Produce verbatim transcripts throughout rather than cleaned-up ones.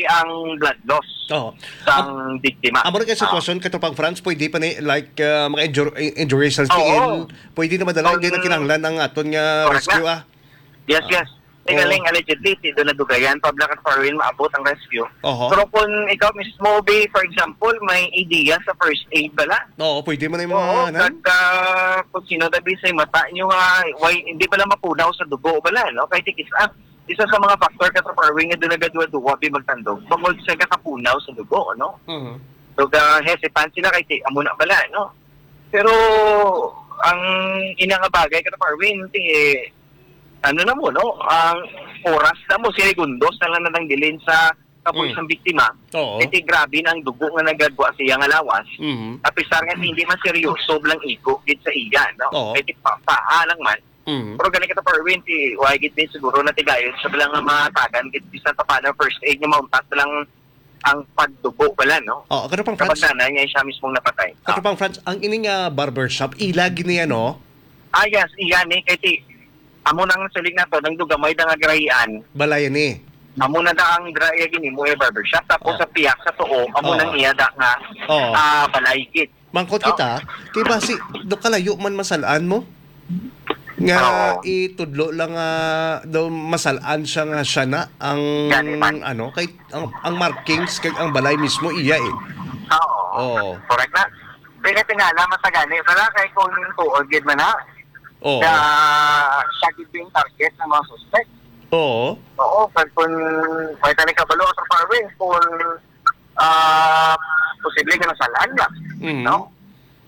ang blood loss Oo. sang biktima. Amo rin kay Oo. sitwasyon, Katropang Franz, pwede pa ni, like, ah, mga injur-, i-, injuries sa Oo. tiil, pwede na madala, Kung hindi na kinahanglan ang aton nga Correct rescue, na. ah. Yes, Ah. yes. Kay Oo. galing, allegedly, si doon nadugayan, pabla ka foreign, maabot ang rescue. Oho. Pero kung ikaw mismo, be, for example, may idea sa first aid bala? Oo, pwede man yung mga, Oo, ano? pag, ah, kung sino tabi sa mata nyo nga, why, hindi pala mapunaw sa dugo bala, no? Kay tikis, ah, isa sa mga factor ka sa foreign nga doon nagaduwa-duwa, be, magtandog. Bangod sa kakapunaw sa dugo, no? Mhm. So, ga hesitant sila kay ti-, amo na bala, no? Pero, ang ina nga bagay ka sa foreign, ti, ano na mo, no? Ang oras na mo, segundos na lang natanggalin sa kapoy Mm. sang biktima. Oo. Kasi grabe na ang dugo nga nagagwa sa iya nga lawas. Mhm. Apisar nga hindi man seryoso lang igo gid sa iya, no? Oo. Kasi pa, paa lang man. Mhm. Pero gani kita, Perwin, ti, why gid din siguro natigayon siya lang nga matagan gid bisan pa paano first aid nga mauntat lang ang pagdugo pala, no? Oo, Katropang Franz. Kapag nanay niya siya mismong napatay. Ah. Katropang Franz, ang ini nga barbershop, ila gid niya, no? Ah, yes, iya ni. Kay ti, amo nang siling nato, nang dugamay da nga garahian. Balay ni. Amo na da ang dra-, iya ginimo iya barbershop. Tapos Oh. sa piyak sa tuo, amo Oh. nang iya da nga, Oo. ah, balay gid. Mangkot No? kita, kay basi, do kalayo man masalaan mo? Nga Oo. itudlo lang nga daw masalaan siya nga siya na ang, Gani man. ano, kay ang, ang markings kag ang balay mismo iya eh. Oo. Oo. Correct na. Pinatingala, masagani. Wala kay kung tuod gid man na. Oo. Sa, siya gid yung target ng mga suspect. Oo. Oo, kag kung may tali kabalo sa Parwin, kung, ah, posible nga nasalaan na, Mhm. no?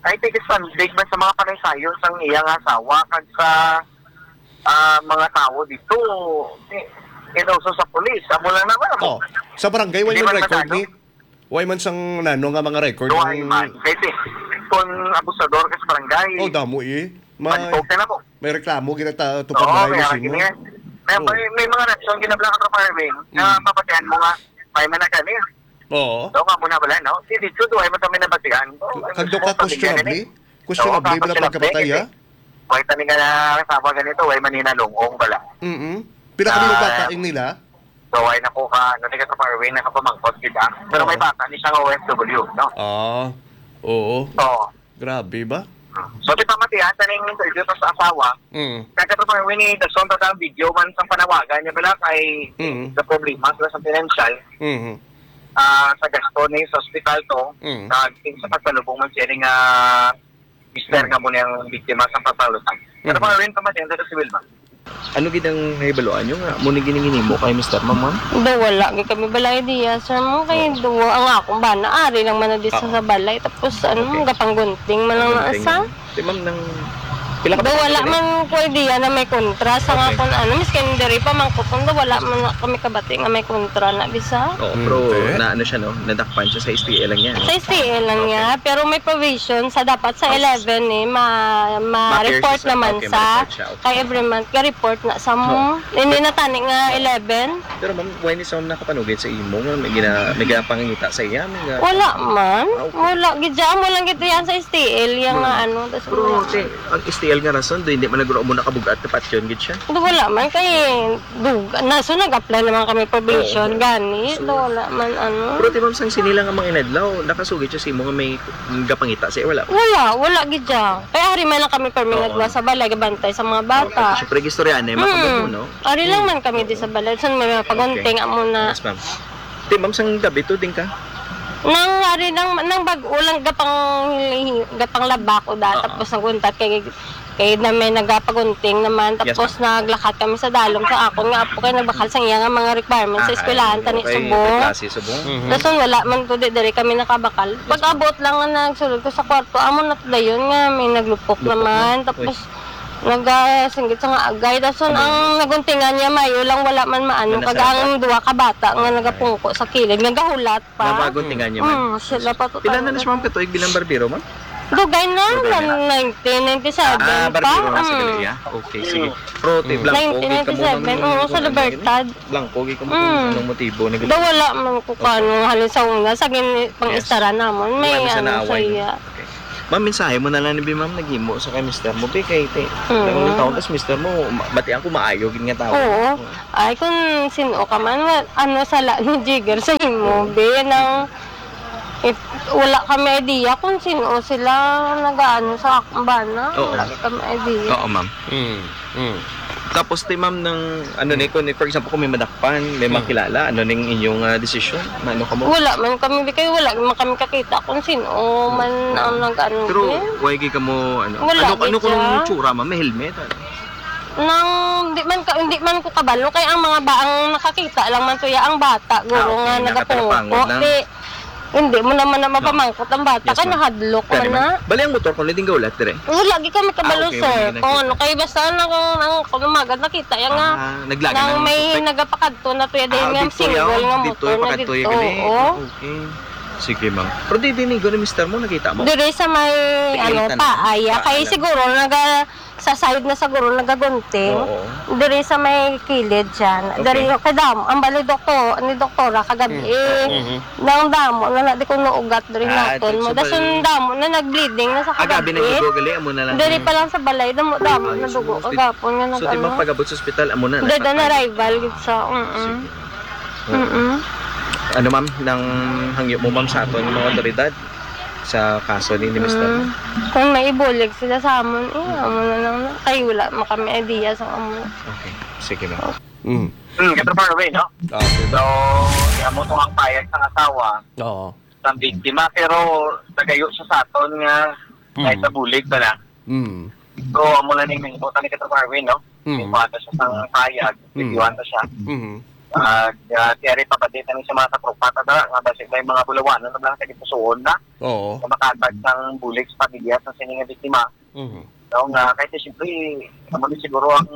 I think it's big man sa mga panaysayon sang iyang asawa kag sa, ah, mga tawo dito, eh, and also sa police. Amo lang naman, amo. Oh, sa barangay, wala Hindi man man record masyado. ni? Way man sang nano nga mga record Duhay ang man. Kasi kung abusador ka sa barangay, Oh, damo eh. May, Pantok ka na po. may reklamo gina ta tupad Oo, balay may ni araw Simo. gini. May, Oh. may, may mga reaksyon ginabla ka sa farming na Mm. mapatihan mo nga may managani. Oo. So, nga muna wala, no? Si Dito, duhay mo kami nabatihan. So, Kag ang do ka gusto pamilya questionable? nila. Questionable Oo, bala questionable pagkamatay, kasi ah? Way tani nga na, tama ganito, way maninalungong bala. Mm-mm. Pila ka Ah. bata ang nila? So, ay, naku ka, ano, di ka sa Parwin, nakapamangkot kita. Pero Oo. may bata ni siya nga O F W, no? Ah, oo. Oo. Grabe ba? So, di pa matiyan, sa ning interview pa sa asawa, Mm. kaya ka sa Parwin, eh, dason pa ang video man sa panawagan niya, bala, kay Mm. sa problema, sa, sa financial, Mhm. ah, sa gasto ni sa ospital to, Mm. sa, sa pagsalubong man siya ning, ah, Mister Mm. nga mo niyang biktima sa pasalutan. Pero Mhm. Parwin, pa matiyan, sa civil ba? Ano gid ang nahibaluan nyo nga mo ni gininginimo kay Mister Ma'am, ma'am? Do, wala gid kami bala idea, sir, mo kay Oo. do ang akong bana ari lang man na di sa, Oo. sa balay, tapos ano, Okay. gapanggunting man lang na Gunting sa. lang. Di, ma'am, nang pila ka Do, buwan wala na man ko idea na may kontra sa nga Okay. kung ano, miskin diri pa man ko, kung do, wala man na kami kabati nga may kontra na bisa. Oo, Mm, pero te. na ano siya, no? Nadakpan siya sa S T L lang niya, no? Sa S T L lang Okay. niya, pero may provision sa dapat sa House. eleven eh, ma-, ma-report Ma-pierce siya. naman Okay, sa ma-report siya. Okay. Kay every month, ga-report na sa mo. Oo. Hindi na tani nga Oo. eleven. Pero ma'am, why ni sa ma'am nakapanugid sa imo nga may gina-, may ginapangita sa iya? May ga- Wala man. Ah, okay. Wala. Gid siya, amo lang gid yan sa S T L, yung Hmm. nga ano, tas Pero, mga te, ang S T L nga rason, do, hindi man nagro mo nakabugat na patyon gid siya? Do, wala man. Kay, do, na, so nag-apply naman kami probation, Oo. gani. So, Do, wala man, ano. Pero, te, ma'am, sang sini lang ang mga inadlaw, nakasugid siya sa imo nga may gapangita sa iya, wala? Wala, wala gid siya. Kay ari man lang kami permi Oo. nagwa sa balay, gabantay sa mga bata. Okay. Siyempre, istorya na, Mm. makabubo, no? Ari lang Mm. man kami di sa balay. San may mga pagunting Okay. amo na. Yes, ma'am. Di, ma'am, sang gabi to, din ka? Nang ari lang, nang bag-o lang gapang, gapang labak o da, Oo. tapos naguntat kay, kay na may nagapagunting naman, Yes, tapos ma'am. naglakat kami sa dalom sa akon nga apo kay nagbakal sa iya nga mga requirements sa Ah, eskwelahan, ay, tani okay. subong. May klase subong. Mhm. Dason wala man to, di diri kami nakabakal. Yes, ma'am. Pag-abot lang nga nagsulod ko sa kwarto, amo na dayon nga may naglupok Lupok naman. na? Tapos Uy. nagasinggit sa nga agay. Dason Ano? ang naguntingan niya, mayo lang wala man maano. Kag Manasarap? ang duwa ka bata nga Okay. nagapungko sa kilid, nagahulat pa. Nabaguntingan niya man? Mm, sila pa to Pila na talaga. na siya, ma'am, katuig bilang barbero, ma'am? Dugay na, Dugay na. nineteen ninety-seven Ah, pa. barbero na sa Mm. Galilea. Okay, sige. Mm. Pero, te, Mm. blanco, gid ka mo nineteen ninety-seven, ng oo, sa ano, Libertad. Blanco, gid ka mo kung Mm. anong motibo ni Daw wala man ko Okay. kano, halin sa una, sa gini-, pang Yes. estara namon, may Wala na siya ano sa naaway, no? iya. Okay. Ma'am, mensahe mo na lang ni bi, ma'am, naghimo sa kay mister mo, bi, kay te-, Mm. nagulong taon, tas mister mo, ma-, batian ko, maayo gid nga tawo. Oo. Ay, kung sino ka man, wa-, ano, sala ni Jigger sa imo, Mm. bi, nang, if, wala kami idea kung sino sila nagaano sa akong bana. Oo. Wala kami idea. Oo, ma'am. Mm, mm. Tapos, ti, ma'am, nang, ano ni, Mm. kung, for example, kung may madakpan, may Mm. makilala, ano ning inyong, ah, desisyon? Maano ka mo? Wala man kami, kay wala man kami kakita kung sino Mm. man ang nag-ano, Pero, eh. why gid ka mo, ano? Wala Ano, gid ano kung siya. Tsura, ma'am? May helmet, ano? Nang, di man ka, hindi man ko kabalo, kay ang mga ba, ang nakakita lang man to ya, ang bata, guro Ah, okay, nga, nagatalapangod nagapungko. lang. Di, Hindi mo naman na No. mapamangkot ang bata, Yes, kay ma'am. nahadlok Gani man man. na. Bali ang motor ko, naging gaulat dire. Wala, di kami kabalo, Ah, okay, sir. wala na Kung kita. ano, kay basta na kung ang, kung umagad nakita, yan nga, Ah, naglagan nang ang may suspect. nagapakadto na to, yan, Ah, dahil nga dito, single yaw. nga Dito, motor yung na pakadto, dito, yung gani. oo. Okay. Sige, ma'am. Pero di, di, ni, gani, mister mo, nakita mo? Dire sa may, Sige, ano, tanong. paaya. Kay Paalam. siguro, naga-, sa side na siguro nagagunting. Oo. Diri sa may kilid siya. Okay. Diri kay dam-, ang bali doktor, ni doktora kagabi. Mm. Mhm. Nang damo na na di ko naugat diri Ah, naton so mo. Dason bal- damo na nag-bleeding na sa Ah, gabi kagabi. nagdugo gali, amo na lang. Diri Mm. pa lang sa balay, damo, damo Ay, na dugo. sus, di-, Kagapon nga so, di nag-ano. magpagabot sa ospital, amo na, Dada na nagpatay. Arrival gid sa, mm-mm. Sige. Mm-mm. Ano, ma'am, nang hangyo mo, ma'am, sa aton mga otoridad sa kaso ni, ni mister mo? Mm. Kung may ibulig sila sa amon, eh, Mm. amo na lang na. Kay wala man kami idea sa amo. Okay. Sige, ma'am. Mm. Hmm, Katropa Arwin, no? Ah, okay. So, amo to ang payag sang asawa Oo. sang biktima, pero nagayo siya sa aton nga Mm. kahit sa bulig pa na. Mm. So, amo na ning nahimo tani, Katropa Arwin, no? Mm. Ikuha ta siya sang payag, Mm. videohan ta siya. Mm. Ah, ah, tiyari pa pa di tani sa mga katropa ta dira, nga basig may mga bulawanon na lang sa gipusuon na, Oo. nga makatag sang bulig sa pamilya sa sini nga biktima. Mhm. No, nga, kay siyempre, amo ni siguro ang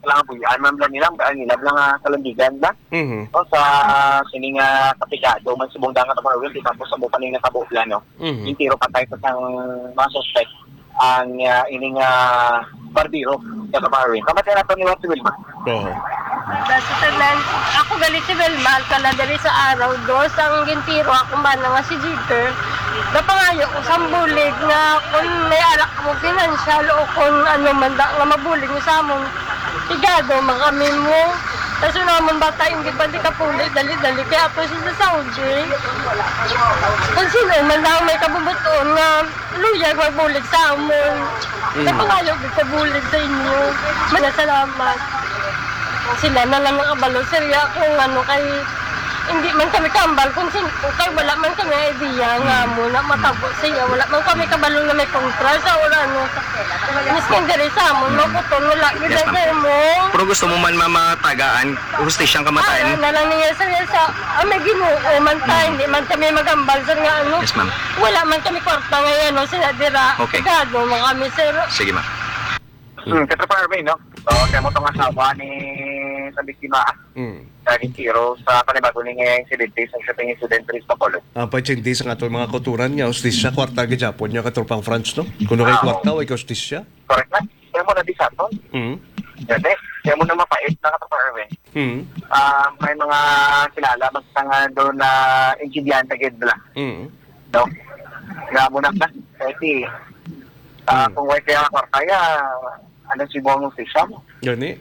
kailangan buhian man lang nila, ang nila lang nga kalandigan na. Mhm. No, sa sini nga kapigado man subong dangat ang mga di tapos sa bukaning nakabukla, no? Mhm. Yung tiro patay sa sang mga suspect ang, ah, ining, ah, barbero, Katropa Arwin. Kamatay nato ni Juan si Wilma. Oo. Sa tanan, ako gali si Wilma Alcala diri sa Araw Dos, ang gintiro akong bana nga si Jeter. Napangayo ko sa bulig nga kung may arak mo financial o kung ano man da nga mabulig mo sa amon, igado man kami mo. Kaso naman bata, hindi pa di ka puli, dali-dali, kaya ato siya sa Saudi. Kung sino man daw may kabubuton nga Luyag magbulig sa amon. Mm. Napangayo gid ko bulig sa inyo. Manasalamat. Sila na lang nakabalo, sir, ya, kung ano kay, hindi man kami kambal kung sin-, kay wala man kami idea nga Mm. amo na matabo siya. Wala man kami kabalo na may kontra sa wala, ano. Miskin diri sa amon, Mm. makuton, wala gid Yes, ma'am. mo. Pero gusto mo man, ma'am, matagaan, hustisyang kamatayan? Ah, na lang niya, sir, sa, ah, may Ginoo man ta, Mm. hindi man kami magambal, sir, nga ano. Yes, ma'am. Wala man kami kwarta nga yan, no, sila dira. Okay. Gado man kami, sir. Sige, ma'am. Hmm, Katropa Arvin, no? So, kamo tong asawa ni sa biktima, Mm. sa gintiro sa panibago ni nga insidente sa shooting incident diri sa Bacolod. Ang paitsindi sa aton mga kauturan nga hustisya, kwarta gid gyapon niya, Katropang Franz, no? Kuno kay Ah, kwarta, oo. Way hustisya. Correct na? Kaya mo na di sa aton. Mm. Dati, kaya mo na mapait na, Katropa Arvin. Mm. Ah, may mga kilala, basta nga doon na insidyante gid bala. Mm. No? Nga mo na ka, kasi, ah, Mm. kung way kaya kwarta ya, ano si mo ang official? Gani.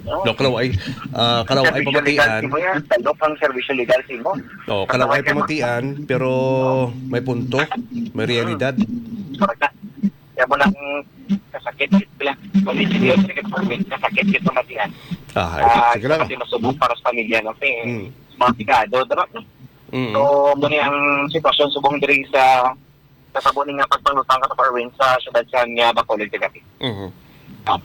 No? No, kalaw ay, ah, kalaw ay Servisyo legal pamatian. si mo yan, talok ang servisyo legal si mo. Oh, Basta kalaw way ay kaya pamatian, pero may punto, may realidad. Correct na. Kaya mo lang kasakit, gid lang. Kung hindi siya Mm. sige, kasakit, gid pamatian. Ah, ay, Ah, sige lang. Kasi masubok para sa pamilya, no? Kasi Mm. mga pigado, diba? Mm. So, muna ang sitwasyon subong diri sa, sa sabo ni nga pagpanglutang, Katropa Arwin, sa syudad sa nga Bacolod kagabi. Mhm. Ah.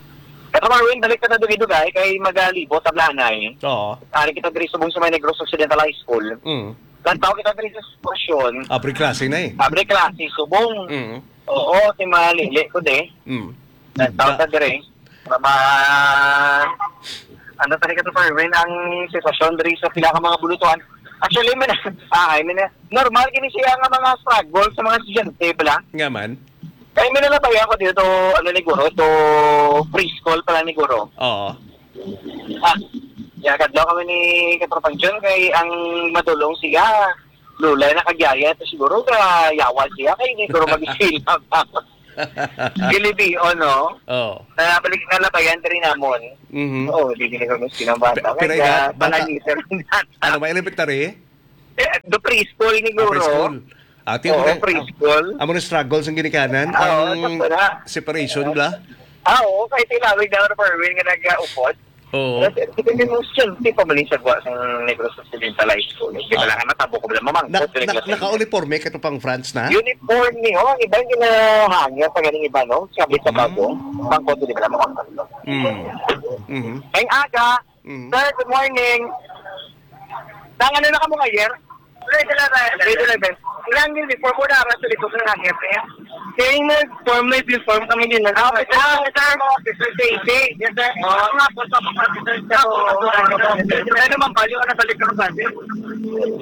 Katropa Arwin, balik ka na dugay-dugay kay magalibot, tablanay. Oo. Ari kita diri subong sa may Negros Occidental High School. Mm. Lantaw kita diri sa sitwasyon. Abre klase na eh. Abre klase, subong. Mm. Oo, si Malili ko de. Mm. Lantaw Da- ta diri. Mama, ano tani, Katropa Arwin, ang sitwasyon diri sa pila ka mga bulutuhan? Actually, may na, ah, I mean, normal gini siya nga mga struggle sa mga estudyante, bala. Nga man. Kaya may nalabay ako dito, ano ni Guro, to preschool pala ni Guro. Oo. Ah, ya, kadlaw kami ni Katropang John, kay ang madulong siya, Lulay na kag yaya, ito siguro, ah, yawa siya, kay hindi siguro mag-eskwela pa. Gilibion, no? Oh. Ah, balik nga labayan diri namon. Mhm. Oo, di gini kami sinang bata. Pe-, pero Kaya, ina-, bata, pananiter na. Ano, may elementary? Eh, do preschool ni Ah, Guro. Preschool. Ati Oo, mo na, preschool. Amo na struggle sa ginikanan. Oo, Ang sakto na. separation, bla? Ah, oo, kay tinawag na ako ni Perwin nga nag-upod. Oo. Pero, pero may mga estudyante pa man yung sagwa sa Negros Occidental High School. Di ba Ah. lang, natabo ko ba lang mamangkot, Na, na, naglasing. Naka-uniforme ka to pang France na? Uniforme, oh, ang iba yung ginahangyo pa ganing iba, no? Sabi sa Mm. bago, pangkot, di ba lang mamangkot. Mm. Mhm. Ngayong aga, Mm. sir, good morning. Nang ano na ka mo nga year? Grade eleven. Grade eleven. Ilang uniform mo na ara sa likod ng hangyo, eh? Kaya yung nag-form, may uniform kami din. Ah, okay, sir. Officer safety. Yes, sir. Oo. Ako nga po, sa mga officer, sir. Oo. Kaya naman, baliw ka na sa likod ng bus.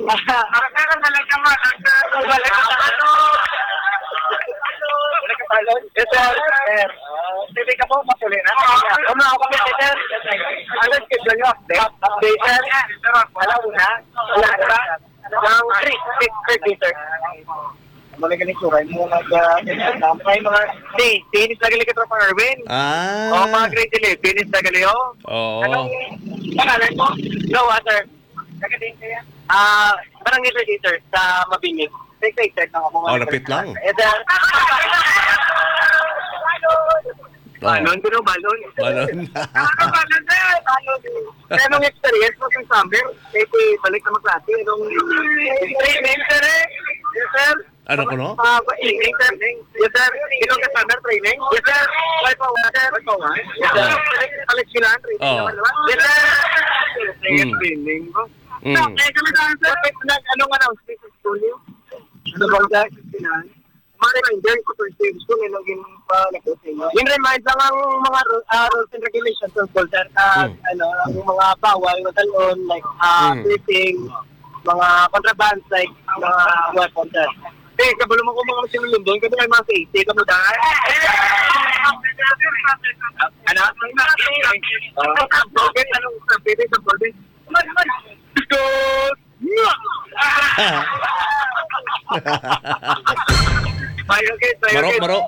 Ang kaya na lang naman, ang kaya na lang naman. Wala ka balon? Yes, sir. Sir. Hindi ka po, masuli na. Ano ako, sir? Ano schedule nyo? Update, sir. Wala, una. Wala, wala. Ang three, six, thirty, sir. Ano na ganito, kaya mo nag, ah, may mga, hey, finish na gali ka, Tropa Erwin. Ah. Oh, mga grade eleven, finish na gali, oh. Oo. Anong pangalan mo? Jowa, sir. Taga din kaya? Ah, barangay thirty, sir, sa Mabini. Sa excited na ako. Oh, lapit lang. Eh, sir. Oh. Balon, pero balon. Balon. Balon, sir. Balon. Kaya nung experience mo sa summer, eh, di balik na magklase, nung training, sir, eh. Yes, sir. Ano ko, no? Ah, training, sir. Yes, sir. Ilong ka summer training? Yes, sir. Wipe out, sir. Wipe out, sir. Yes, sir. Ah. Balik, balik sila, training Oo. naman, di ba? Yes, sir. Yes, Mm. training, no? Mm. So, eh, kami sa, sir, nag-, ano nga na, school niyo? Ano ba, sir? Mga reminder ko, sir, sa gusto nila yung palabot ninyo. Yung remind lang ang mga ru-, ah, rules and regulations sa school, sir. Ah, Hmm. ano, ang mga bawal, matalon, like, ah, Hmm. sweeping, mga contraband, like, mga weapon, sir. Eh, kabalo mo kung mga sinulundon, kasi may mga safety, kamo dahil. Ano? Ah, bakit? Anong sabi? Sa bakit? Because Mayo, guys, mayo, Maro, guys. Maro.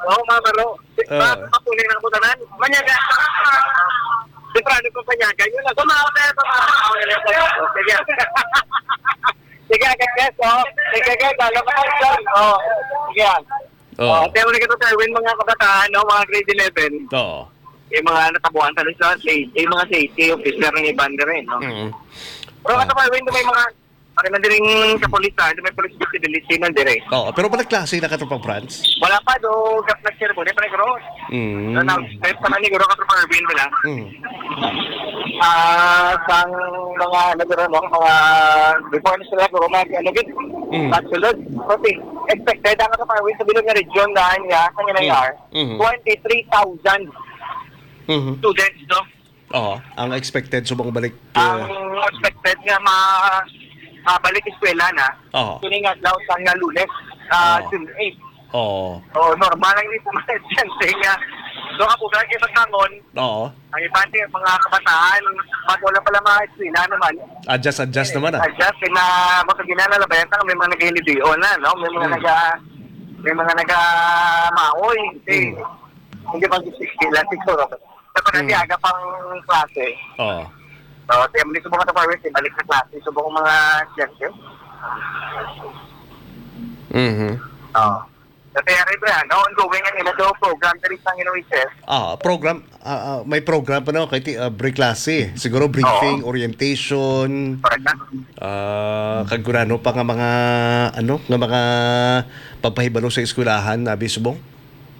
Oo, mga maro. Si, Oo. ma-, mapunin ang butanan. Manyaga. Di pa, ano kung panyaga? Yun lang. Kumaon na, kumaon na. Sige. Sige, guys, guys, oh. Sige, guys, alam mo, guys, oh. Sige. Oo. Oh, pero nagkita sa Erwin, mga kabataan, no, mga grade eleven. Oo. Yung mga natabuan sa Luzon, sa, yung mga safety officer ng iban na rin, no? Mm. Pero Oo. Katropa Erwin, may mga, pag nandiring kapulisan, may police visibility na dire. Oo, pero wala klase na, Katropang Franz? Wala pa, do, gap na siya, wala pa nagro. Mm. So, na, step pa na ni Guro, Katropa Erwin, wala. Mm. Ah, sang mga, ano, Guro, no? Mga, before na sila, Guro, mag, ano, gid? Mm. Pagsulod. Okay. Expected, ang Katropa Erwin, sa bilog nga region, daan niya, sa Mm. Nginayar, Mhm. twenty-three thousand Mhm. students, no? Oo, ang expected subong balik, Ang uh, expected nga ma-, mabalik eskwela na, Oo. Kini nga adlaw sa nga Lunes, ah, Oo. June eight. Oo. Oh, normal lang dito mga estudyante nga. So, ako, kaya kayo magbangon, Oo. Ang iban din, mga kabataan, bago lang pala mga eskwela naman. Adjust, adjust naman, ah. Adjust, kaya na, baka ginana, labayan ka, may mga nag-hilidion na, no? May mga Hmm. naga-, may mga naga-maoy. Eh, Hmm. hindi ba sila siguro? Sa Hmm. panatiaga pang klase. Oo. So, kaya muli sa mga taparis, balik sa klase. So, buong mga estudyante. Mhm. Oo. Sa T R A, Brian, ongoing ang ila do program diri sa N O H S. Ah, program, ah, ah, may program pa, no? Kay ti-, ah, break klase. Siguro briefing, Oo. orientation, Correct na. ah, kag gurano pa nga mga, ano, nga mga pagpahibalo sa eskwelahan, abi subong?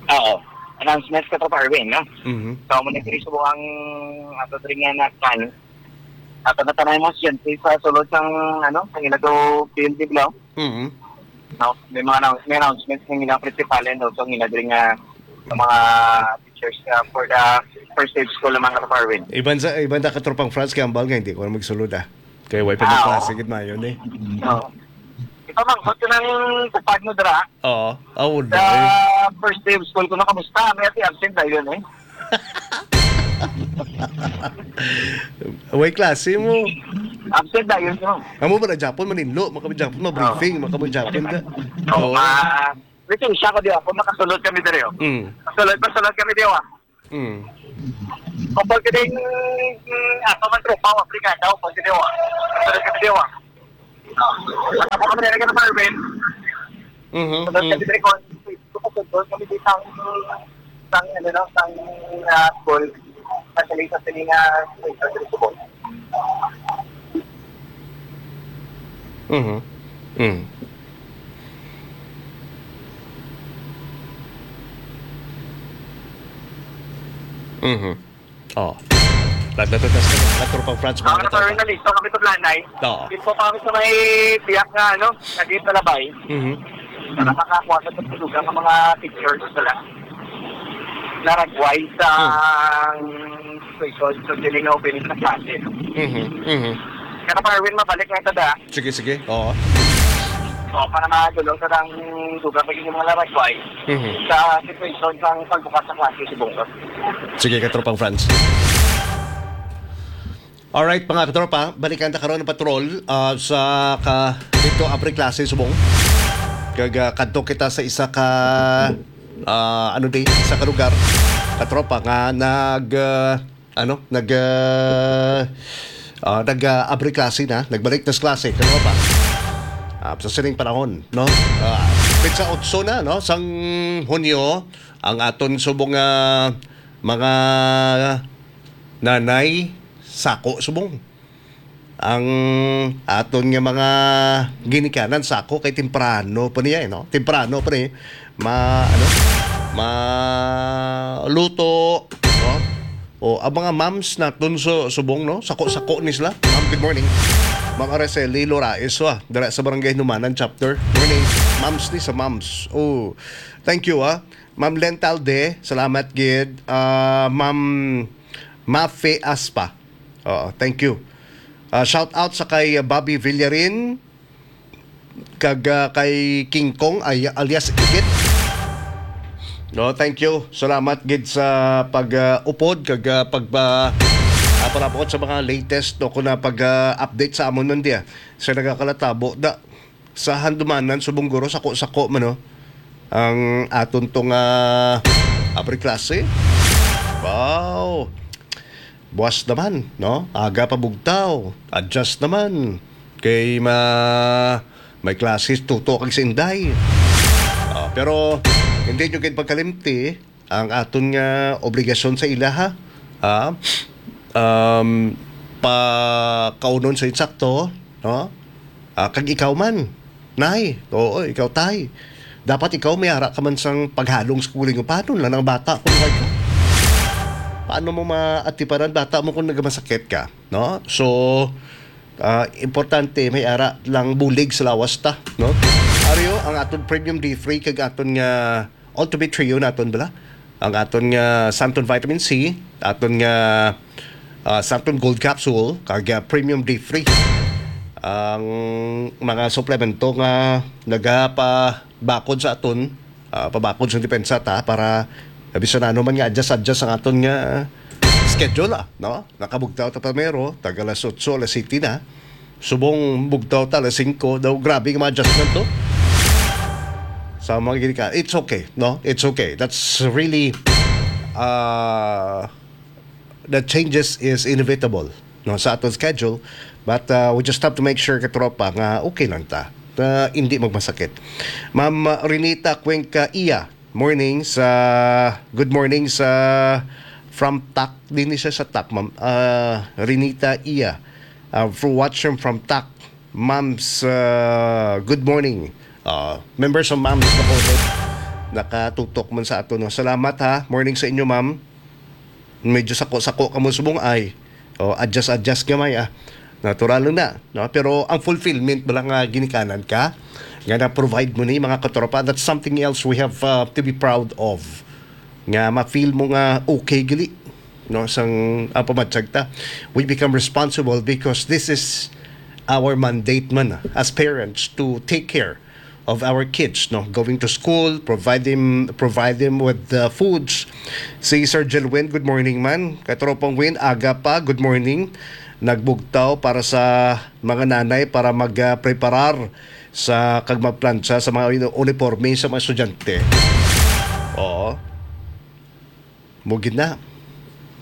Oo. Announcements, Katropa Erwin, no? Mhm. So, muna diri subong ang ato diri nga na-plan. Ato na tanan mo, siyempre, sa sulod sang, ano, sang ila do field, di ba? Mhm. No, may mga announce-, may announcements ng ilang principal and also ang ina diri nga, sa mga teachers, uh, for the first day of school ng mga Katropa Erwin. Iban sa, iban ta Katropang Franz, kay ambal nga hindi ko na magsulod, ah. Kay way pa Ah, magklase oo. Gid mayon, eh. Oo. Ipamangkot ko ng kupad mo dira. Oo. Ah, wala, Sa eh. First day of school ko, nakamusta? May ati absent tayo yun, eh. Way klase mo. Absent na yun, no? Amo ba na Japon, maninlo, makabi Japon, ma-briefing, makabi Japon ka. Oo, Oo. ah, Lisensya ko di ako, makasulod kami diri, oh. Mm. Kasulod, kasulod kami di, oh. Mm. Kung pag kining, mm, ato man tropa, wa brigada, o pag di, oh. Kasulod kami di, oh. Sa kamo kami nilagay ng Marvin. Mhm, Kasulod mm. kami diri, kung, kung kasulod kami di sang, sang, ano, no, sang, ah, school. Sa Salita, sa Salina, sa Salina, sa Salina. Mhm. Mm. Mhm. Oh. Nagdatutas ka na, Tropang Franz, mga Ako na, katopa. Sorry, nalito kami sa Blanay. Oo. Dito pa kami sa may biyak nga, ano, naging palabay. Mhm. Para makakuha sa tulugan ng mga pictures nila. Naragway sa Hmm. Station, so, dili na open sa klase. Mhm, mhm. Kaya pa, Erwin, mabalik na ito, da. Sige, sige. Oo. So, para madulong sa dang dugang pag inyong mga laragway Mhm. sa situation sang pagbukas sa klase si Bungkot. Sige, Katropang Franz. Alright, mga katropa, balikan ta karon ang patrol, ah, sa ka-, dito, abri klase subong. Kag, ah, kadto kita sa isa ka, ah, ano di, isa ka lugar, katropa, nga nag, ah, ano, nag, ah, ah, nag, ah, abri klase na, nagbalik na sa klase, katropa. Ah, sa sining panahon, no? Ah, petsa otso na, no? Sang Hunyo, ang aton subong, ah, mga nanay, sako subong. Ang aton nga mga ginikanan, sako, kay temprano pa niya, eh, no? Temprano pa ni ma-, ano, maluto, no? O, ang mga moms naton sa subong, no? Sako-sako ni sila. Ma'am, good morning. Ma'am Araceli Loraes, ah, dira sa Barangay Hinumanan Chapter. Morning, moms ni sa moms. Oh, thank you, ah. Ma'am Len Talde, salamat gid. Ah, Ma'am Mafe Aspa. Oo, thank you. Ah, shout out sa kay Bobby Villarin, kag, ah, kay King Kong, ay, alias Igit. No, thank you. Salamat gid sa pag, ah, upod kag, ah, pagpa-, ah, palabot sa mga latest, no, kung na pag, ah, update sa amon nun diya. Sa nagakalatabo, da, sa Handumanan, subong guro, sako-sako man, no? Ang aton tong, ah, abri klase. Wow! Buwas naman, no? Aga pa bugtaw. Adjust naman. Kay ma-, may classes, tuto kag si Inday. Ah, pero hindi nyo gid pagkalimti ang aton nga obligasyon sa ilaha. Ah, um, pakaunon sa insakto, no? Ah, kag ikaw man, nay, oo, ikaw, tay. Dapat ikaw may ara ka man sang paghalong sa kuling upanon lang ang bata kung may ka. Paano mo maatipanan bata mo kung nagmasakit ka, no? So, ah, importante may ara lang bulig sa lawas ta, no? Ariyo ang aton premium D three kag aton nga Ultimate Trio naton bala. Ang aton nga Santon Vitamin C, aton nga, ah, Santon Gold Capsule, kag, ah, Premium D three. Ang mga suplemento nga nagapabakod sa aton, ah, pabakod sa depensa ta para bisan ano man nga adjust-adjust ang aton nga schedule, ah, no? Nakabugtaw ta primero, tag alas otso, alas siyete na. Subong bugtaw ta alas singko. Daw, grabe nga mga adjustment to. Sa mga gini ka, it's okay, no? It's okay. That's really, uh, the changes is inevitable, no, sa aton schedule. But, uh, we just have to make sure, katropa, nga okay lang ta. Na hindi magmasakit. Ma'am Renita Cuenca Iya, morning sa, good morning sa, from Tak. Din siya sa Tak, ma'am. Ah, Renita Iya. Ah, for watching from Tak. Moms, ah, good morning. Ah, members of Moms na po, nakatutok man sa ato, no? Salamat, ha. Morning sa inyo, ma'am. Medyo sako-sako ka mo subong ay. O, adjust-adjust gamay, ah. Natural lang na, no? Pero ang fulfillment bala nga ginikanan ka, nga na-provide mo ni mga katropa, that's something else we have, uh, to be proud of. Nga ma-feel mo nga okay gali, no? Sang, ah, pamatsag ta. We become responsible because this is our mandate man, ah, as parents to take care of our kids, no? Going to school, provide them, provide them with the foods. Si Sir Jelwin, good morning man. Katropang Win, aga pa, good morning. nagbugtaw para sa mga nanay para mag, ah, preparar sa kag magplantsa sa mga uni-, uniforme sa mga estudyante. Oo. Mugid na.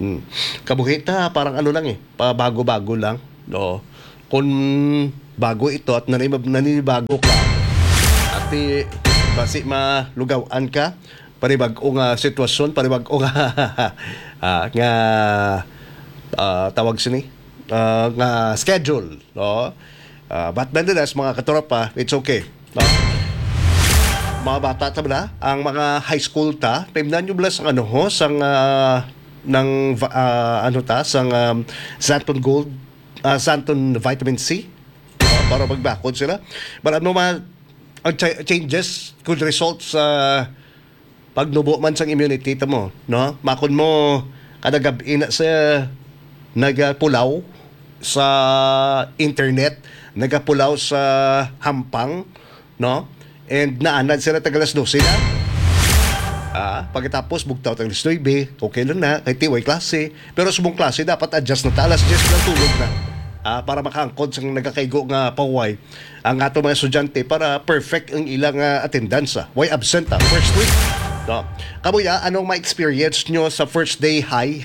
Hmm. Kabuhi ta, parang ano lang eh, pabago-bago lang. Oo. Kung bago ito at nanib-, naninibago ka, at di, basi malugawan ka, panibag-o nga sitwasyon, panibag-o nga, ah, nga, ah, tawag sini, ah, nga schedule, no? Ah, but nonetheless, mga katropa, it's okay, no? Mga bata ta bala, ang mga high school ta, paimnan nyo bala sang ano ho, sang, ah, nang va-, ah, ano ta, sang, um, Xanthone Gold, ah, Xanthone Vitamin C, ah, para magbakod sila. But ano man, ang cha-, changes could result sa pagnubo man sang immunity ta mo, no? Makon mo, kada gab-i na sa nagapulaw sa internet, nagapulaw sa hampang, no? And naanad sila tag alas dose na. Ah, pagkatapos, bugtaw tag alas nuebe, okay lang na, kay ti way klase. Pero subong klase, dapat adjust na ta. Alas diyes na tulog na. Ah, para makaangkon sang nagakaigo nga pahuway ang ato mga estudyante para perfect ang ilang, ah, attendance, ah. Way absent, ah, first week. No? Kamuya, anong ma-experience nyo sa first day high?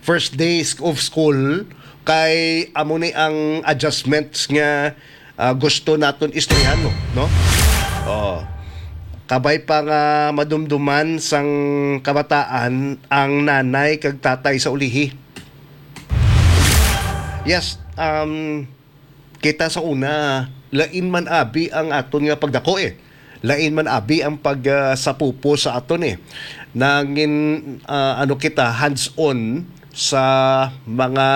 First day sc-, of school? Kay amo ni ang adjustments nga, ah, gusto naton istoryahan mo, no? Oh. Kabay pa nga madumduman sang kabataan ang nanay kag tatay sa ulihi. Yes, um, kita sa una, lain man abi ang aton nga pagdako eh. Lain man abi ang pag, ah, sapupo sa aton eh. Nangin, ah, ano kita, hands-on sa mga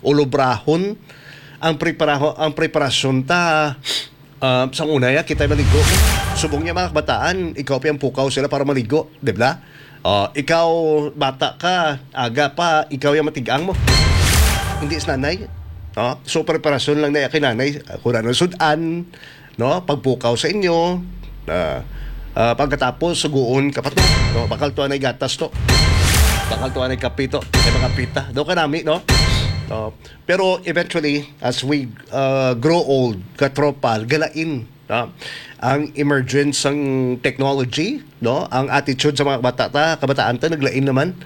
ulobrahon. Ang preparaho-, ang preparasyon ta, ah, sang una ya, kita maligo. Subong niya mga kabataan, ikaw pa ang pukaw sila para maligo, di ba? Oh, ikaw, bata ka, aga pa, ikaw yung matigang mo. Hindi si nanay. Oh, so, preparasyon lang na kay nanay. Kung ano, sudan, no? Pagpukaw sa inyo, ah, ah, pagkatapos, suguon ka pa to, no? Bakal to anay gatas to. Bakal to anay kape to. Ay, mga pita. Daw ka nami, no? Oh, pero eventually, as we, ah, grow old, katropa, galain, no? Ang emergence sang technology, no? Ang attitude sa mga bata ta, kabataan ta, naglain naman.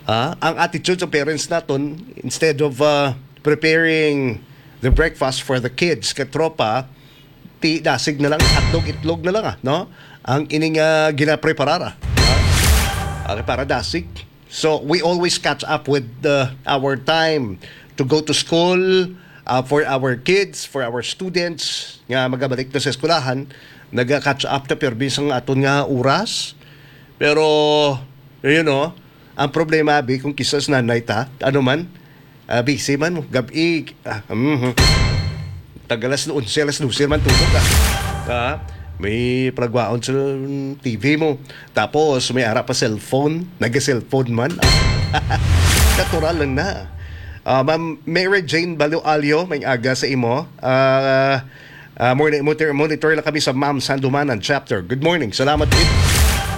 Ah, ang attitude sa parents naton, instead of, ah, preparing the breakfast for the kids, katropa, ti dasig na lang, hotdog, itlog na lang, ah, no? Ang ining, ah, ginapreparar, ah. Ah, okay, para dasig. So, we always catch up with the, our time to go to school, uh, for our kids, for our students nga magabalik na sa eskwelahan, naga-catch up ta pirmi sang aton nga oras. Pero, you know, ang problema, abi, kung kisas nanay ta, ano man, ah, busy man mo, gab-i, ah, mhm. Tag alas onse, alas dose man tulog, ah. Ah, may palagwaon sa T V mo. Tapos, may ara pa cellphone. Naga-cellphone man. Natural lang na. Ah, Ma'am Mary Jane Baloalio, may aga sa imo. Ah, ah, morning, monitor, monitor lang kami sa Ma'am Sandumanan Chapter. Good morning. Salamat, Pete.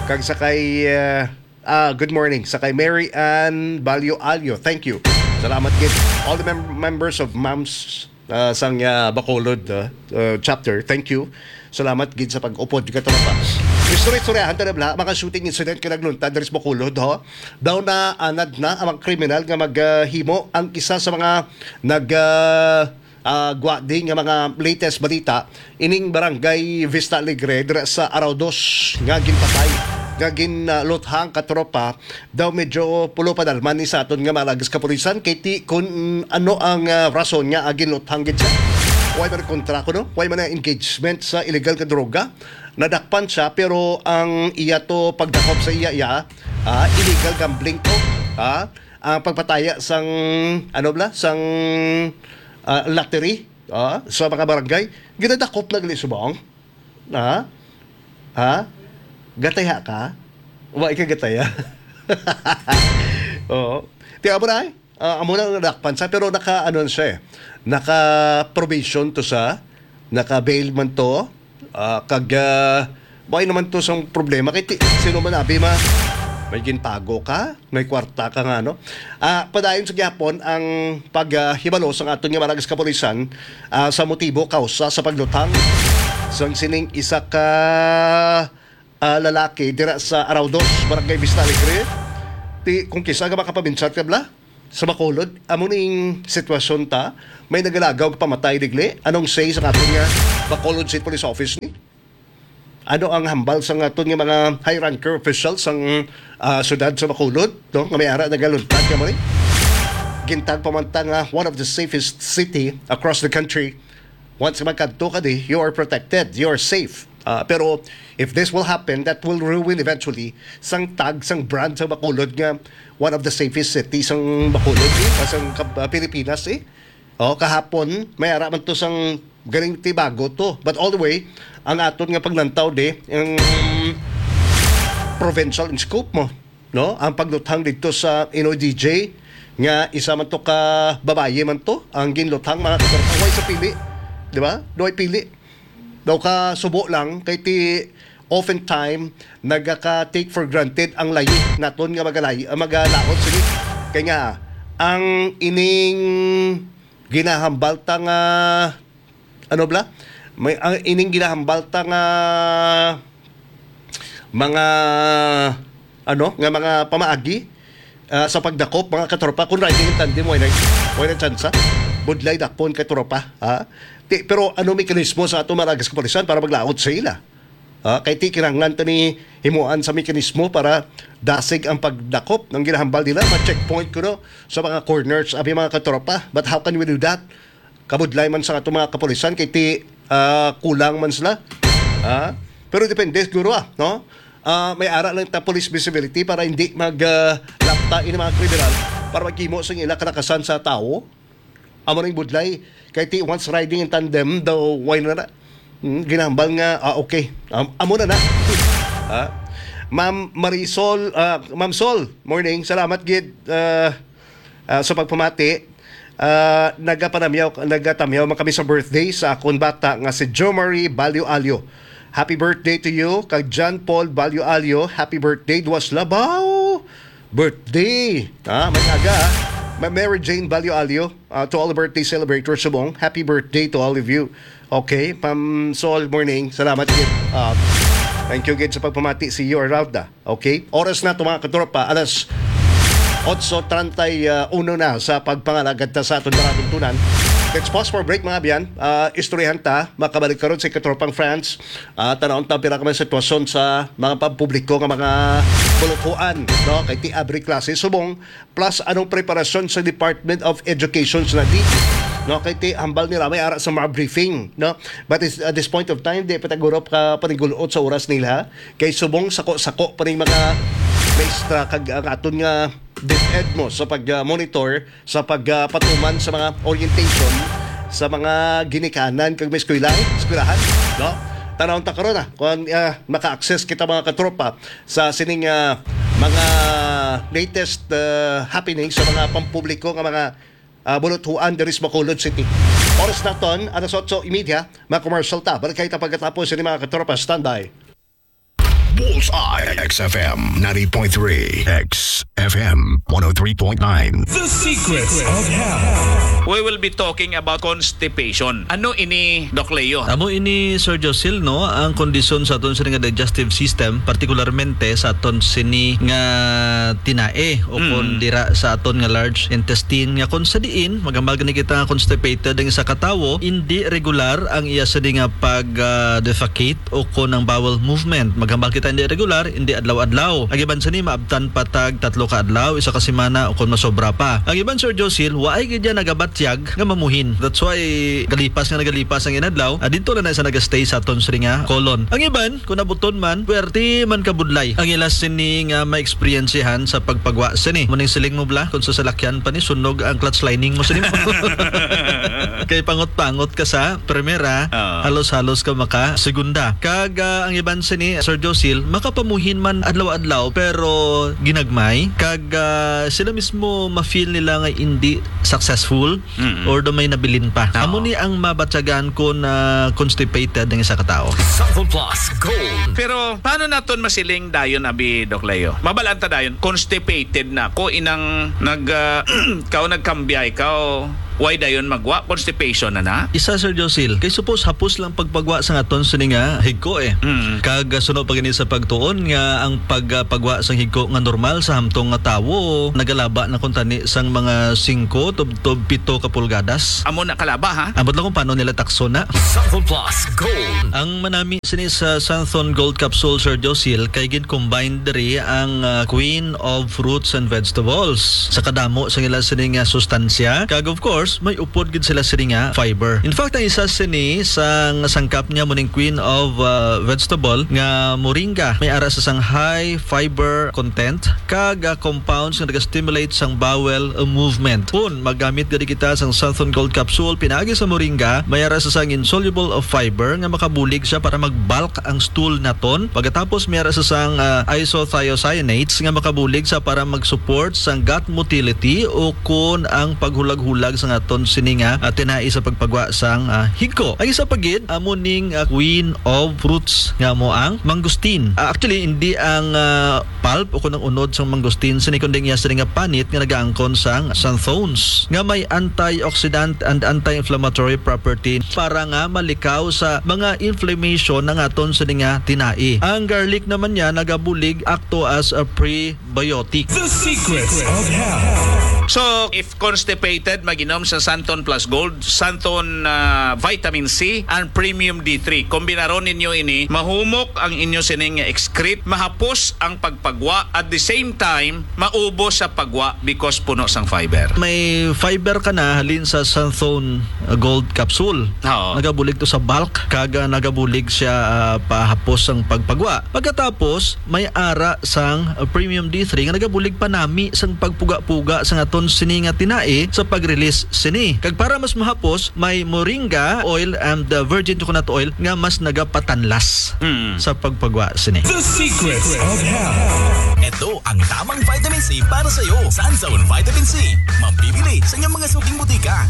Kag sa kay, ah, Ah, good morning. Sa kay Mary Ann Balyo Alyo, thank you. Salamat gid. All the mem-, members of Moms, ah, sang, ah, Bacolod, ah, ah, chapter, thank you. Salamat gid sa pag-upod, katropa. Istorya-istoryahan ta na bala, mga shooting incident nga nagluntad diri sa Bacolod, ho. Daw na anad na ang mga kriminal nga maghimo ang isa sa mga nag, ah, ah, gwadi nga mga latest balita, ining barangay Vista Alegre dira sa Araw Dos nga ginpatay, nga gin, ah, luthang, katropa, daw medyo pulo pa dalman ni sa aton nga mga lagas kapulisan, kay ti kun ano ang, ah, rason nga, ah, ginluthang gid siya. Way man kontra kuno, way man na engagement sa illegal nga droga. Nadakpan siya, pero ang iya to pagdakop sa iya, iya, ah, illegal gambling to, ah, ang pagpataya sang, ano bala, sang, ah, lottery, ah, sa mga barangay, ginadakop na gali subong. Ha? Ha? Gataya ka? Wa ka gataya? Oo. Ti amo na, eh. Ah, amo na nadakpan sa, pero naka, ano na siya, eh. Naka probation to sa, naka bail man to, ah, kag, ah, why naman to sang problema? Kay ti-, sino man abi ma-, May ginpago ka? May kwarta ka nga, no? Ah, padayon sa gihapon ang paghibalo sang aton nga Maragas Kapulisan, ah, sa motibo, kausa sa pagluthang sang sining isa ka, ah, lalaki dira sa Araudos, Barangay Vista Alegre. Ti, kung kisa ka makapabinsat ka, bla? Sa Bacolod, amo ning sitwasyon ta, may nagalagaw nga pamatay digli. Anong say sa aton nga Bacolod State Police Office ni? Ano ang hambal sa aton nga mga high ranker officials sang, ah, syudad sa Bacolod, no? Nga may ara nagaluntad ka mo ni? Gintag pa man ta nga one of the safest city across the country. Once magkadto ka di, you are protected, you are safe. Ah, pero if this will happen, that will ruin eventually sang tag, sang brand sa Bacolod nga one of the safest cities sang Bacolod, eh, sang kab-, ah, Pilipinas, eh. Oh, kahapon, may ara man to sang galing tibago to. But all the way, ang aton nga paglantaw di, ang provincial in scope mo, no? Ang pagluthang dito sa Inoy D J, nga isa man to ka babayi man to, ang ginluthang, mga katropa, way sa pili, di ba? Duway pili. Daw ka subo lang, kay ti oftentime, nagaka-take for granted ang layi naton nga magalayi, ah, magalaot sini. Kay nga, ang ining ginahambal ta nga, ano bla? May, ang ining ginahambal ta nga mga, ano, nga mga pamaagi, ah, sa pagdakop, mga katropa, kung riding in tandem, wala, wala tsansa. Budlay dakpon, katropa, ha? Ti, pero ano mekanismo sa ato Maragas Kapulisan para maglaot sa ila? Ah, kay ti kinahanglan to ni himuan sa mekanismo para dasig ang pagdakop ng ginahambal nila, ma-checkpoint kuno sa mga corners, abi, mga katropa. But how can we do that? Kabudlay man sa ato mga kapulisan, kay ti, ah, kulang man sila. Ah, pero depende siguro, ah, no? Ah, may ara lang ta police visibility para hindi mag, ah, lapta ini mga kriminal, para maghimo sa ila kalakasan sa tawo. Amo ning budlay. Kay ti once riding in tandem, daw why na na? Hmm, ginambal nga, ah, okay. Am-, amo na na. Ah, Ma'am Marisol, ah, Ma'am Sol, morning. Salamat gid, ah, ah, sa pagpamati. Ah, nagapanamyaw, nagatamyaw man kami sa birthday sa akon bata nga si Jo Marie Balyo Alyo. Happy birthday to you. Kag John Paul Balyo Alyo, happy birthday. Duwas labaw birthday. Ah, may aga, ah. Ma-, Mary Jane Balyo Alyo, ah, to all the birthday celebrators subong, happy birthday to all of you. Okay, Ma'am Sol, morning. Salamat gid. Ah, thank you gid sa pagpamati. See you around, ah. Okay? Oras na to, mga katropa, alas otso treinta y uno na sa pagpangalagad ta sa aton mga tuntunan. Let's pause for break, mga abyan. Ah, istoryahan ta, makabalik karon si katropang Franz. Ah, tanawon ta pila ka mga sitwasyon sa mga pampubliko nga mga buluthuan, no? Kay ti abri klase subong, plus anong preparasyon sa Department of Education sa nadi, no? Kay ti hambal nila may ara sa mga briefing, no? But is, at this point of time, di pa ta guro ka panigulot sa oras nila. Kay subong sako-sako pa ning mga maestra kag ang aton nga DepEd mo sa pag-monitor, sa pagpatuman sa mga orientation sa mga ginikanan kag may eskwela, eskwelahan, no? Tanawon ta karon, ah, kung, ah, maka-access kita, mga katropa, sa sining, ah, mga latest, ah, happening sa mga pampubliko nga mga, ah, buluthuan diri sa Bacolod City. Oras naton, alas otso y media, mga commercial ta. Balik kita pagkatapos ini, mga katropa. Standby. Bullseye, X F M ninety point three, X F M one oh three point nine. The Secrets of Health. We will be talking about constipation. Ano ini, Doc Leo? Amo ini, Sir Josil, no, ang kondisyon sa aton sini nga digestive system, partikularmente sa aton sini nga tinae o Mm. kon dira sa aton nga large intestine, nga kon sa diin maghambal gani kita nga constipated ang isa ka tawo, indi regular ang iya sini nga pag, ah, defecate o kon ang bowel movement. Maghambal kita hindi regular, hindi adlaw-adlaw. Ang iban sini maabtan pa tag tatlo ka adlaw, isa ka semana, o kon masobra pa. Ang iban, Sir Josil, waay gid niya nagabatyag nga mamuhin. That's why galipas nga nagalipas ang inadlaw, ah, dito na na siya nagastay sa aton sini nga colon. Ang iban, kung nabuton man, pwerte man kabudlay ang ila sini nga ma-experiencehan sa pagpagwa sini. Muning siling mo bla, kung sa salakyan pa ni, sunog ang clutch lining mo sini mo. Kay pangot-pangot ka sa primera, Oo. halos-halos ka maka segunda. Kag, ah, ang iban sini, Sir Josil, Makapamuhin man adlaw-adlaw, pero ginagmay. Kag, ah, sila mismo ma-feel nila nga hindi successful Mm-mm. or do may nabilin pa. Oo. Amo ni ang mabatyagan kung, ah, constipated ang isa ka tawo. Sample Plus Gold. Pero paano naton masiling dayon, abi, Doc Leo? Mabalaan ta dayon, constipated na ko, inang nag, ah, kao nagkambiay kao, why dayon magwa? Constipation na na? Isa, Sir Josil, kay suppose hapos lang pagpagwa sa aton sini nga higko eh. Mm. Kag, ah, suno pa gani sa pagtuon nga ang pag, ah, pagwa sang higko nga normal sa hamtong nga tawo nagalaba na kuntani sang mga singko tubtob pito ka pulgadas. Amo na kalaba, ha? Ambot lang kung paano nila takso na. Sample Plus Gold. Ang manami sini sa Santhon Gold Capsule, Sir Josil, kay gin-combine diri ang, ah, Queen of Fruits and Vegetables. Sa kadamo sa ila sini nga sustansya, kag of course, may upod gid sila sini nga fiber. In fact, ang isa sini sang sangkap niya mo ning Queen of, ah, Vegetable nga moringa. May ara sa sang high fiber content kag, ah, compounds nga naga-stimulate sang bowel, ah, movement. Kun magamit gani kita sang Santhon Gold Capsule pinaagi sa moringa, may ara sa sang insoluble of fiber nga makabulig siya para mag-bulk ang stool naton. Pagkatapos, may ara sa sang, ah, isothiocyanates nga makabulig sa para mag-support sang gut motility o kun ang paghulag-hulag sa aton sini nga, ah, tinai sa pagpagwa sang, ah, higko. Ang isa pa gid, amo ning, ah, Queen of Fruits nga amo ang mangosteen. Ah, actually, hindi ang, ah, pulp o kun ang unod sang mangosteen sini, kundi ang iya sini nga panit nga nagaangkon sang xanthones nga may antioxidant and anti-inflammatory property para nga malikaw sa mga inflammation ang aton sini nga tinai. Ang garlic naman niya nagabulig akto as a prebiotic. The Secrets of Health. So, if constipated, mag-inom sa Santon Plus Gold, Santon, ah, Vitamin C, and Premium D three. Kombinaron ninyo ini, mahumok ang inyo sining excrete, mahapos ang pagpagwa, at the same time, maubos sa pagwa because puno sang fiber. May fiber ka na halin sa Santhon Gold Capsule. Oo. Nagabulig to sa bulk, kag nagabulig siya, ah, pahapos ang pagpagwa. Pagkatapos, may ara sang, ah, Premium D three nga nagabulig panami sang pagpuga-puga sang aton sini nga tinai sa pag-release sini. Kag para mas mahapos, may moringa oil and, uh, virgin coconut oil nga mas nagapatanlas Mm. sa pagpagwa sini. The Secrets of Health. Ito ang tamang vitamin C para sa iyo. Sanzone Vitamin C. Mabibili sa inyong mga suking butika.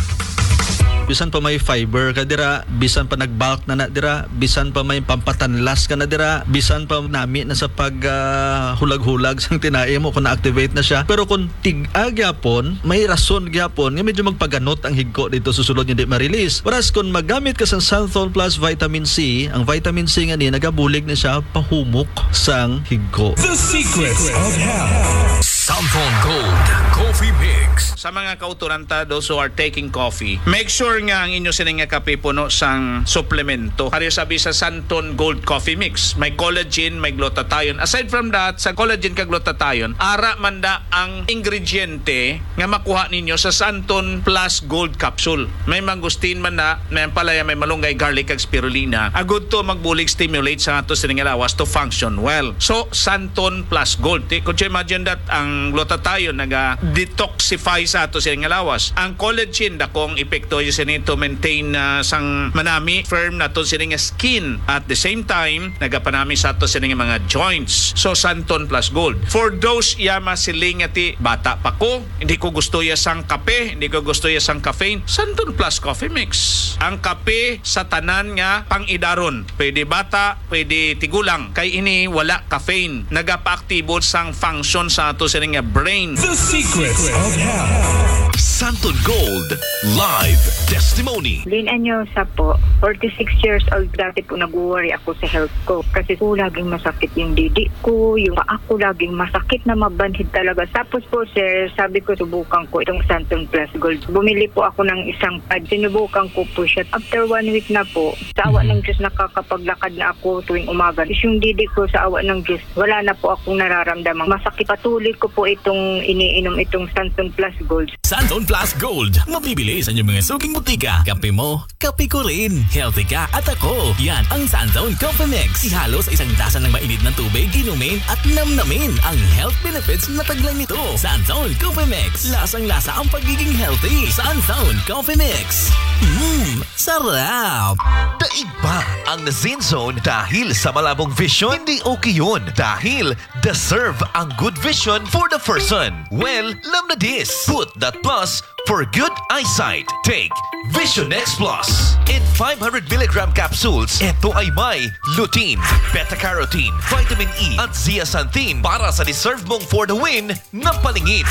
Bisan pa may fiber ka dira, bisan pa nag-bulk na na dira, bisan pa may pampatanlas ka na dira, bisan pa nami na sa pag, ah, hulag-hulag sang tinai mo kung na-activate na siya. Pero kung tig-a gyapon, may rason gyapon nga medyo magpaganot ang higko dito sa sulod nga di ma-release. Whereas kung magamit ka sang Santhol Plus Vitamin C, ang vitamin C nga ni nagabulig na siya pahumok sang higko. The Secrets of Health. Santhol Gold Coffee Mix. Sa mga kauturan ta, those who are taking coffee, make sure nga ang inyo sini nga kape puno sang suplemento. Ari sabi sa Santon Gold Coffee Mix, may collagen, may glutathione. Aside from that, sa collagen kag glutathione, ara man da ang ingrediente nga makuha ninyo sa Santon Plus Gold Capsule. May mangosteen man na, may ampalaya, may malunggay, garlic, kag spirulina. Agud to magbulig stimulate sa ato sining lawas to function well. So, Santon Plus Gold. Ti-, could you imagine that ang glutathione naga-detoxify sa ato sining lawas? Ang collagen, dakong epekto yun sini to maintain, ah, sang manami, firm nato sini nga skin. At the same time, nagapanami sa ato sini nga mga joints. So, Santon Plus Gold. For those iya masiling nga ti, bata pa ko, hindi ko gusto ya sang kape, hindi ko gusto ya sang caffeine, Santon Plus Coffee Mix. Ang kape sa tanan nga pang-idaron. Pwede bata, pwede tigulang. Kay ini wala caffeine. Nagapaaktibo sang function sa ato sini nga brain. The Secrets of Health. Santon Gold Live Testimony. Lynn Anyosa po, forty-six years old. Dati po nag-worry ako sa health ko kasi po laging masakit yung didi ko, yung paa ko laging masakit na mabanhid talaga. Tapos po, sir, sabi ko, subukan ko itong Santon Plus Gold. Bumili po ako ng isang pad. Sinubukan ko po siya. After one week na po, sa awa Mhm. ng Diyos, nakakapaglakad na ako tuwing umaga. Is yung didi ko, sa awa ng Diyos, wala na po akong nararamdamang masakit. Patuloy ko po itong iniinom, itong Santon Plus Gold. Sanzone Plus Gold. Mabibili sa inyong mga suking butika. Kape mo, kape ko rin. Healthy ka at ako. Yan ang Sanzone Coffee Mix. Ihalo sa isang tasa ng mainit na tubig, inumin at namnamin ang health benefits na taglay nito. Sanzone Coffee Mix. Lasang-lasa ang pagiging healthy. Sanzone Coffee Mix. Mmm, sarap! Daig ba ang na-Sanzone dahil sa malabong vision? Hindi okay yun dahil deserve ang good vision for the person. Well, lam na this. Put that plus for good eyesight. Take Vision X Plus. In five hundred milligram capsules, ito ay may lutein, beta-carotene, vitamin E, at zeaxanthin para sa deserve mong for the win na paningin.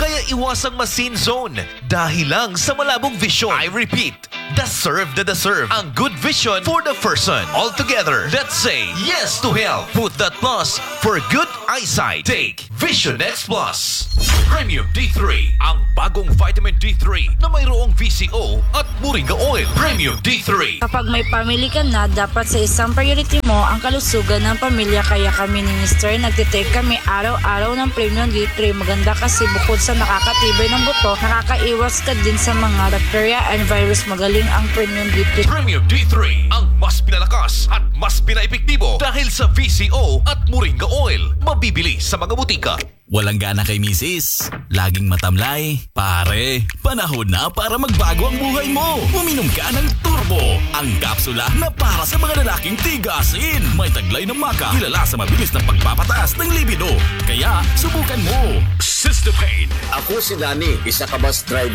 Kaya iwasang ma-Sanzone dahil lang sa malabong vision. I repeat, deserve na deserve ang good vision for the person. All together, let's say yes to health. Put that plus for good eyesight. Take Vision X Plus. Premium D three, ang bagong vitamin D three na mayroong V C O at moringa oil. Premium D three. Kapag may family ka na, dapat sa isang priority mo ang kalusugan ng pamilya. Kaya kami ni Mister nagtitake kami araw-araw ng Premium D three. Maganda kasi bukod sa nakakatibay ng buto, nakakaiwas ka din sa mga bacteria and virus. Magaling ang Premium D three. Premium D three, ang mas pinalakas at mas pinaepektibo dahil sa V C O at moringa oil. Mabibili sa mga butika. Walang gana kay misis? Laging matamlay? Pare, panahon na para magbago ang buhay mo. Uminom ka ng Turbo, ang kapsula na para sa mga lalaking tigasin. May taglay na maca, kilala sa mabilis na pagpapataas ng libido. Kaya, subukan mo. Sister Pain. Ako si Danny, isa ka bus driver.